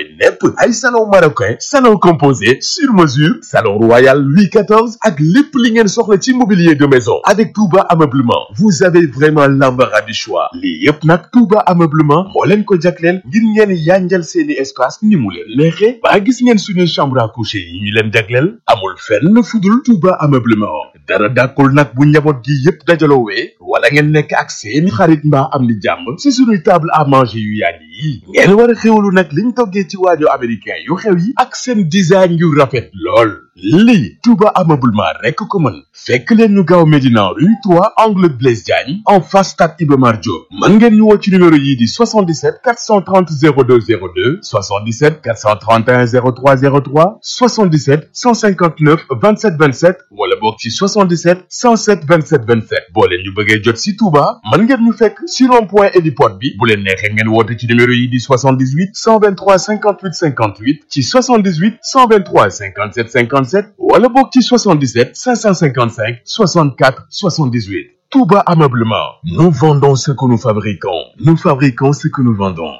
tooy nepp ay salon marocain salon composé sur mesure salon royal Louis XIV ak lépp li ngeen soxla ci mobilier de maison avec Touba Ameublement vous avez vraiment l'embarras du choix lii yëpp nag Touba Ameublement moo leen ko jagleel ngir ngeen yanjal seeni espace ni mu leen neexee ba gis ngeen suñuy chambre à coucher yi ñu leen jagleel amul fenn fudul Touba Ameublement dara dàkkul nag bu njaboot gi yëpp dajaloowee wala ngeen nekk ak seeni xarit mbaa am ni jàmm ci suñuy table à manger yu yàgg yi ngeen war a xewlu nag liñ toggee ci waajo américain yu xew yi ak seen design yu rafet lool lii Touba Ameublement rekk ko mën fekk leen ñu gaaw Médina rue 3 angle Blaise Diagne en face stade Iba Mar Diop mën ngeen ñu woo ci numéro yii di 77 430 02 02 77 431 03 03 77 159 27 27 wala boog ci 77 107 27 27 boo leen ñu bëggee jot si Touba mën ngeen ñu fekk si rond-point héliport bi bu leen neexee ngeen woote ci numéro yi di 78 123 58 58 ci 78 123 57 57 wala boog ci 77 555 64 78 Touba Ameublement. Nous vendons ce que nous fabriquons. Nous fabriquons ce que nous vendons.